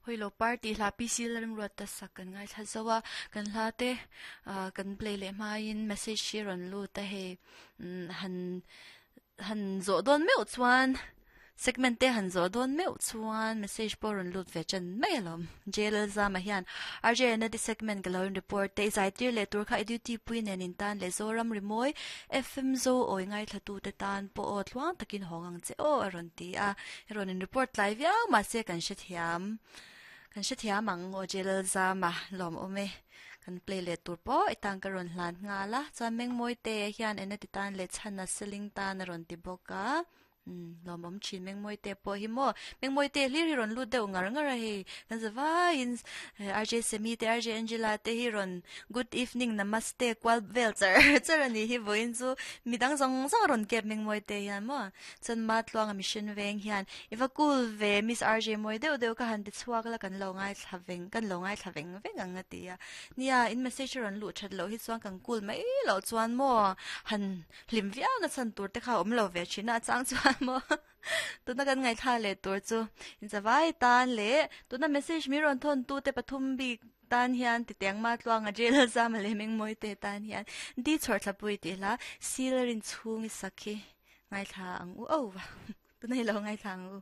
Hawilo party hla PC Lalrimruat ta sak kan ngaithla zo a, kan hla te kan play leh hmain message hi a rawn lut a hei han han zawh dawn meuh chuan segment te han zawh dawn meuh chuan message pawh a rawn lut ve ṭan mai alawm. Jail Zama hian RJ Anadi segment ka lo in report te i zaitir leh tur kha i duty pui nen in tan leh Zoram Rimawi FM Zo awi ngaithla tu te tan pawh aw tluang takin hawng ang che aw a rawn ti a. I rawn in report tlai viau mahse kan hrethiam kan hrethiam ang aw Jail Zama lawmawm e. Kan play leh tur pawh i tan ka rawn hlan nghal a, chuan Mengmawi te hian ena ti tan leh chhan a seling tan a rawn ti bawk a. Umm lawmawm thin Mengmawi te pawh hi maw Mengmawi te hlir hi rawn lut deuh ngar ngar a hei kan za vaiin RJ Semi te RJ Angela te hi rawn good evening namaste kual vel char char a nih hi vawiin chu midang zawng zawng a rawn kep Mengmawi te hian maw chuan Matluanga mission veng hian i va cool ve Miss RJ mawi deuh deuh ka han ti chhuak la kan lo ngaithla veng kan lo ngaithla veng veng ang a ti a nia in message a rawn luh that loh hi chuan kan cool mai loh chuan maw han Hlim viau na chhan tur te kha a awm lo ve thin a, a chang chuan maw tuna kan ngaihthla leh tur chu inzavai tan leh tuna message min rawn thawn tu te pathum bik tan hian titeng ma tluanga jail zama leh mengmawi te tan hian di chhawrthlapui tih hla sil rin chhung i sak hi ngaithla ang u oh va tuna hi lo ngaithla ang u.